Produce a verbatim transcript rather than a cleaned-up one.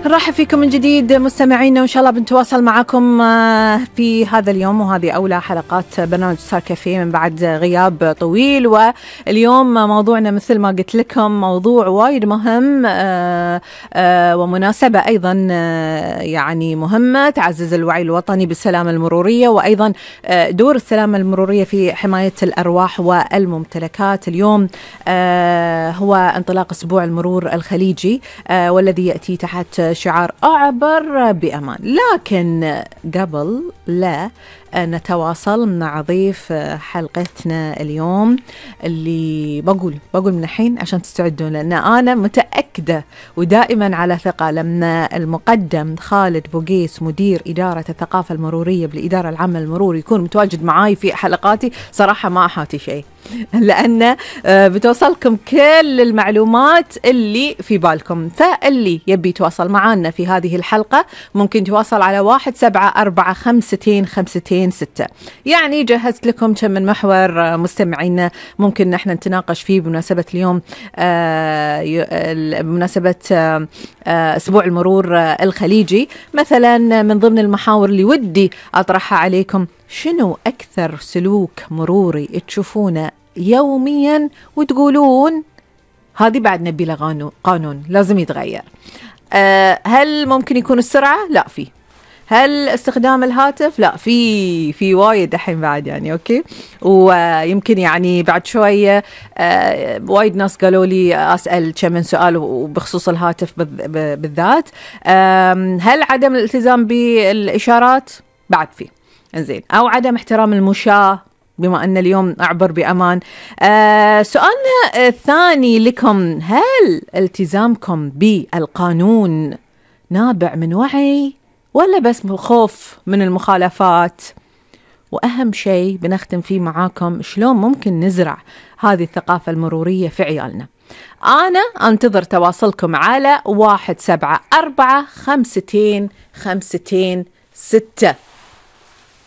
نرحب فيكم من جديد مستمعينا، وإن شاء الله بنتواصل معكم في هذا اليوم، وهذه أولى حلقات برنامج صار كافيه من بعد غياب طويل. واليوم موضوعنا مثل ما قلت لكم موضوع وايد مهم ومناسبة أيضا يعني مهمة، تعزز الوعي الوطني بالسلامة المرورية، وأيضا دور السلامة المرورية في حماية الأرواح والممتلكات. اليوم هو انطلاق أسبوع المرور الخليجي والذي يأتي تحت شعار أعبر بأمان. لكن قبل لا نتواصل مع ضيف حلقتنا اليوم اللي بقول بقول من الحين عشان تستعدون، لأن أنا متأكدة ودائما على ثقة لما المقدم خالد بوقيس مدير إدارة الثقافة المرورية بالإدارة العامة للمرور يكون متواجد معاي في حلقاتي، صراحة ما أحاتي شيء، لأن بتوصلكم كل المعلومات اللي في بالكم. فاللي يبي يتواصل معنا في هذه الحلقة ممكن يتواصل على واحد سبعة أربعة خمستين خمستين ستة. يعني جهزت لكم كم من محور مستمعينا ممكن نحن نتناقش فيه بمناسبة اليوم، بمناسبة أسبوع المرور الخليجي. مثلا من ضمن المحاور اللي ودي أطرحها عليكم، شنو أكثر سلوك مروري تشوفونه يوميا وتقولون هذه بعد نبي له قانون لازم يتغير؟ أه هل ممكن يكون السرعة؟ لا في. هل استخدام الهاتف؟ لا في في وايد الحين بعد يعني اوكي. ويمكن يعني بعد شوية أه وايد ناس قالوا لي أسأل كم من سؤال وبخصوص الهاتف بالذات. أه هل عدم الالتزام بالإشارات؟ بعد في. إنزين، أو عدم احترام المشاة بما أن اليوم أعبر بأمان. آه سؤالنا الثاني لكم، هل التزامكم بالقانون نابع من وعي ولا بس خوف من المخالفات؟ وأهم شيء بنختم فيه معاكم، شلون ممكن نزرع هذه الثقافة المرورية في عيالنا؟ أنا أنتظر تواصلكم على واحد سبعة أربعة خمستين خمستين ستة.